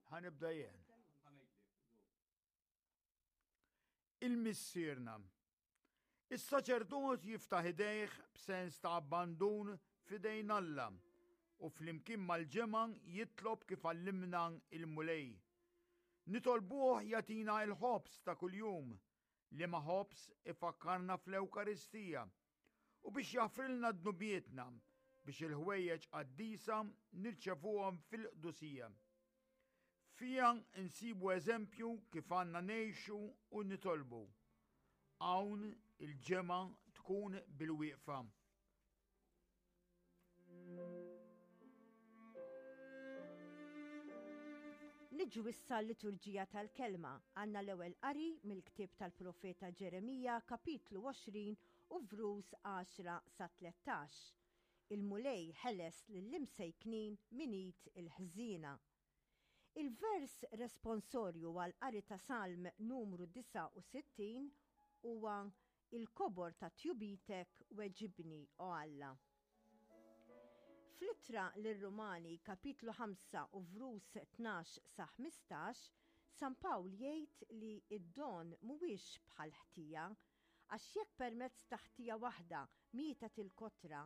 Ħa nibda jien. Il-Missierna. Is-saċerdot jiftaħ idejh b'sens ta' abbandun f'idejn Alla u flimkien mal-ġemgħa jitlob kif għallimna il-Mulej. Nitolbuh jagħtina l-ħobż ta' kuljum, liema ħobż ifakkarna fl-Ewkaristija, u biex jaħfrilna dnubietna biex il-ħwejjeġ qaddisa nirċevuhom fil-qdusija. Fiha nsibu eżempju kif għandna ngħixu u nitolbu. Hawn il-ġemgħa tkun bil-wieqfa. Niġu issa l-liturġija tal-kelma. Għandna l-ewwel qari mill-ktieb tal-profeta Ġeremija kapitlu 20 u vrus 10 sa 13. Il-Mulej ħeles lill-imsejknin minn id il-ħżiena. Il-vers responsorju għall-qari ta' Salm numru 69 huwa Il-kobor ta' tjubitek weġibni, O Alla. Fl-Ittra lir-Rumani, kapitlu 5 u vrus 12 sa 15, San Pawl jgħid li d-don mhuwiex bħal ħtija, għax jekk permezz ta' ħtija waħda mietet il-kotra,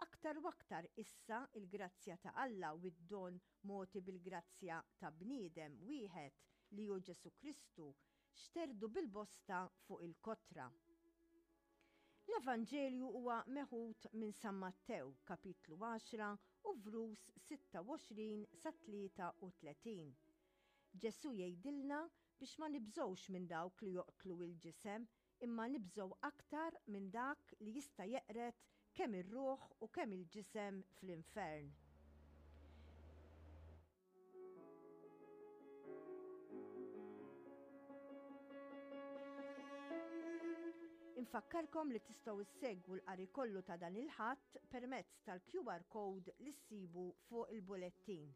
aktar u aktar issa l-grazzja ta' Alla u d-don mogħti bil-grazzja ta' bniedem wieħed, li hu Ġesù Kristu, xterdu bil-bosta fuq il-kotra. L-Evanġelju huwa meħud minn San Mattew, kapitlu 10 u vrus 26 sa 33. Ġesù jgħidilna biex ma nibżgħux minn dawk li joqtlu l-ġisem imma nibżgħu aktar minn dak li jista' jeqred kemm ir-ruħ u kemm il-ġisem fl-infern. Infakkarkom li tistgħu issegwu l-qari kollu ta' dan il-Ħadd permezz tal-QR code li ssibu fuq il-bulettin.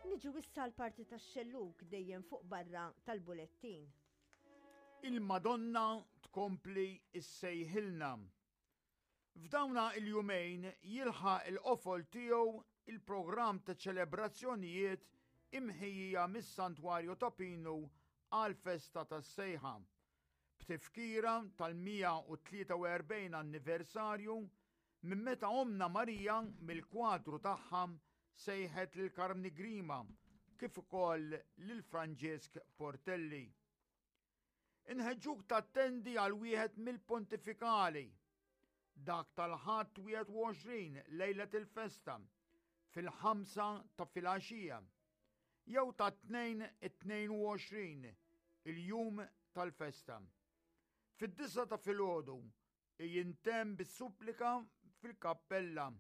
Niġu issa l-parti tax-xellug dejjem fuq barra tal-bulettin. Il-Madonna tkompli issejħilna. F'dawna il-jumejn jilħaq il-qofol tiegħu il-programm ta' ċelebrazzjonijiet imħejjija mis-Santwarju ta' Pinu għall-festa tas-Sejħa, b'tifkira tal-143 anniversarju minn meta Ommna Marija mill-kwadru tagħha sejħet lil Karmni Grima kif ukoll lil Franġisk Portelli. Inħeġġuk tattendi għal wieħed mill-pontifikali, dak tal-Ħadd 21 lejlet il-festa, fil-ħamsa ta' filgħaxija, jew tat-Tnejn it-22, il-jum tal-festa. Fid-disgħa ta' filgħodu jintemm bis-supplika fil-kappella.